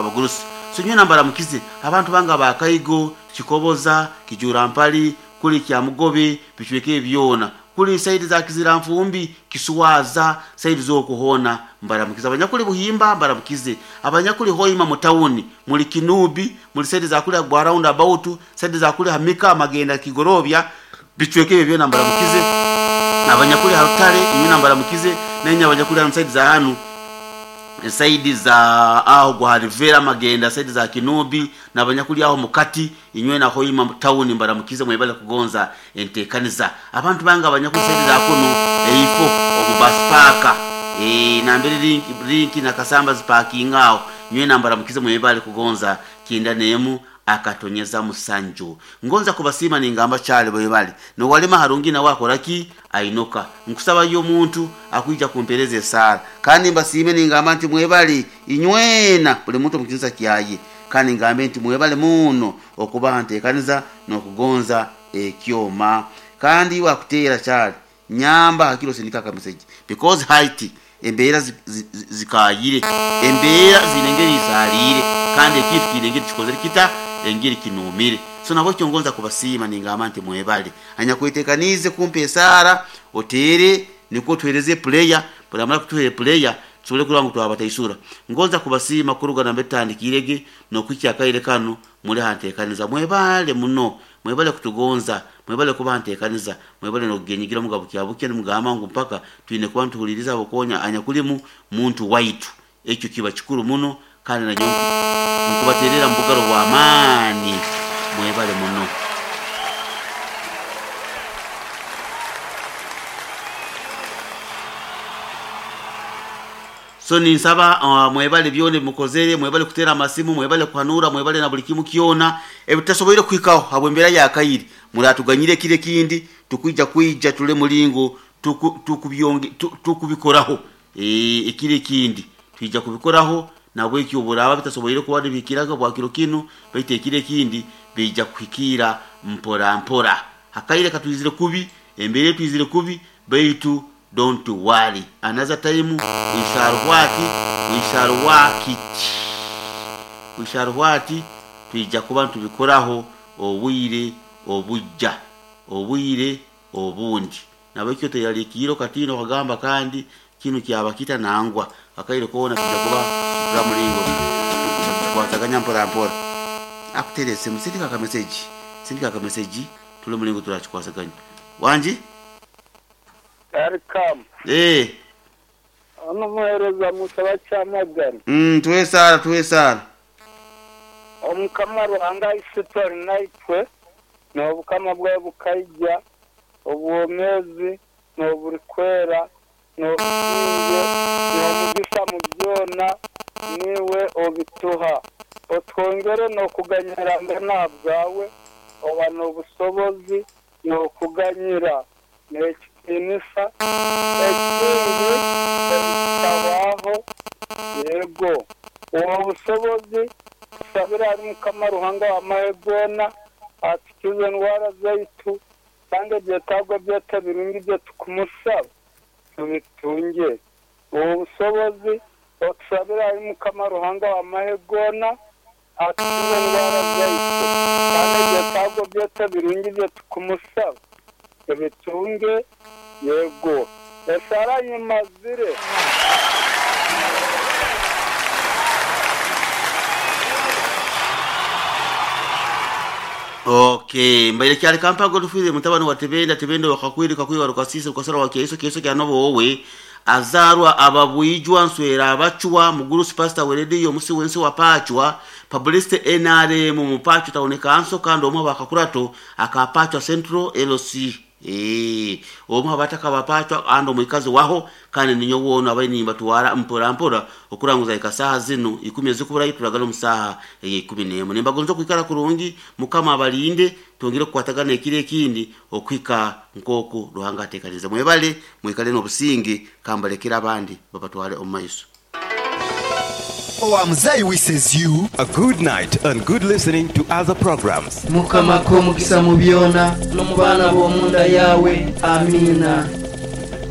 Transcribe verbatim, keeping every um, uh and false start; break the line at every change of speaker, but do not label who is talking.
Abagurusi, so nyowe nambaramukize abantu banga ba Kaigo, Kikoboza, Kijurampali, kuli Kyamugobe, bicweka ebi byona, kuli side za Kiziranfumbi, Kiswaza, side z'okuhoona mbaramukize. Abanyakuli Buhimba mbaramukize, abanyakuli Hoima mu tawuni, muli Kinubi, muli side za kuli gwa round about, side za kuli Hamika, Magenda, Kigorobya, bicweka ebyo byona mbaramukize. Abanyakuli Harutare inywe mbaramukize, nenye abanyakuli hanu side za hanu side za aho gwa Rivera Magenda, side za Kinubi, nabanyakuli aho mukati inywe na Hoima town mbaramukize, mwebale kugonza entekaniza. Abantu banga abanyakuli side za kuno eifo omu bus park eh nambere link link na Kasamba ziparking aho, nywe nambaramukize, mwebale kugonza kinda nemu akatonyeza musanju. Ngonza kubasima ningamba chale bwebale no walema harungi na wakoraki ainuka nkusaba yo muntu akuija kumpereza esara, kandi mbasime ningamba nti mwebale inywena buli muntu mukinsa kyaye, kandi ngambe nti mwebale muno okuba ntekaniza nokugonza ekyoma. Kandi wakutera chale nyamba hakiro sindika ka message because height embeera zikayire, embeera zinengeri izalire, kandi ekintu kinengeri kikozere kita engeri kinumire. So nabo kyongonza kubasiima ningamba nti mwebale anyakwetekanize kumpa esara otere niko tuhereze player buramara kutuhere player tusobole kuraba ngu twabataisura. Ngonza kubasiima kuruga nambe tutandikirege nokwikya akaire kanu muri hantekaniza. Mwebale muno, mwebale kutugonza, mwebale kuba ntekaniza, mwebale nokugenyigira mugabo kyabuke nimugamba ngu mpaka twine kuba ntuhuliriza abokonya anyakulimu muntu waitu. Ekyo kiba kikuru muno, kandi nanyo nkubaterera mubugaro bwa maani. Mwebale muno. So ninsaba uh, mwebale byone mukozere, mwebale kutera amasimu, mwebale kuhanura, mwebale na buli kimu kyona ebitasoboire kuhikaho habwembera ya kairi. Muratuganyire kire kindi tukwija kwija tule mulingo tukubyonge tukubikoraho e, ekire kindi twija kubikoraho nabwe ekyo buraba bitasoboire kuba bikiraga bwa kiro kino, baitu ekire kindi bija kuhikira mpora mpora. Hakaire katwizire kubi, embere twizire kubi, baitu don't worry, another time we shall what we shall work it, we shall what twija kuba tubikoraho obwire obujja obwire obundi. Nabekyo teyalikiro katino kagamba kandi kino kyabakita nangwa akaire kona tujja kuba turamulingo tukwataganya mpora mpora. Akuterese musindika ka message, sindika ka message tule mulingo turakikwasaganya wanji.
Welcome.
Eh.
Ono muhereza musaba kyamagana.
Mm, tuwe sara, tuwe sara.
Omukama Ruhanga isitori naitwe n'obukama bwe bukaija obwomezi n'oburikwera n'obusinge n'omugisa mu byona niwe obituha. Otwongere n'okuganyira ngana bwawe oba n'obusobozi n'okuganyira n'ekitinisa ekindi ekitabaho. Yego uwo busobozi tusabira ari Mukama Ruhanga w'amahe goona atukize endwara zaitu kandi ebyetaago byaitu ebirungi bye tukumusaba tubitunge. Uwo busobozi otusabira ari Mukama Ruhanga w'amahe goona atukize endwara zaitu kandi ebyetaago byaitu ebirungi bye tukumusaba tubitunge. Yego esara nyimazire.
Okay, mbaire kyali kampago tufire mutabani wa Tebenda, Tebenda wakakwiri kakwiri warukasisi ukasara wa Keiso, Keiso kya nobo wowe azarwa ababwijwa nswera abachwa mugurusi pastor weredio musi wensi wapachwa publicity N R M mupacho taoneka anso kando omwe bakakurato akapachwa Central L C. Eh, omwe abataka bapachwa ando mwikazi waho kandi ninyo wono abayini batuwara mpora mpora okuranguza ikasaha zino ikumi ezikubura turagala omusaha ikumi n'emwe. Nimbagonza kwikara kurungi Mukama abalinde twongere kukwatagana ekire ekindi okwika nkoku Ruhanga atekanize. Mwebale mwikale n'obusinge kambalekera abandi babatwale omu maiso.
Owamzai wishes you
a good night and good listening to other programs.
Mukama ko mukisa mu byona no mu baana b'omunda yawe. Amina.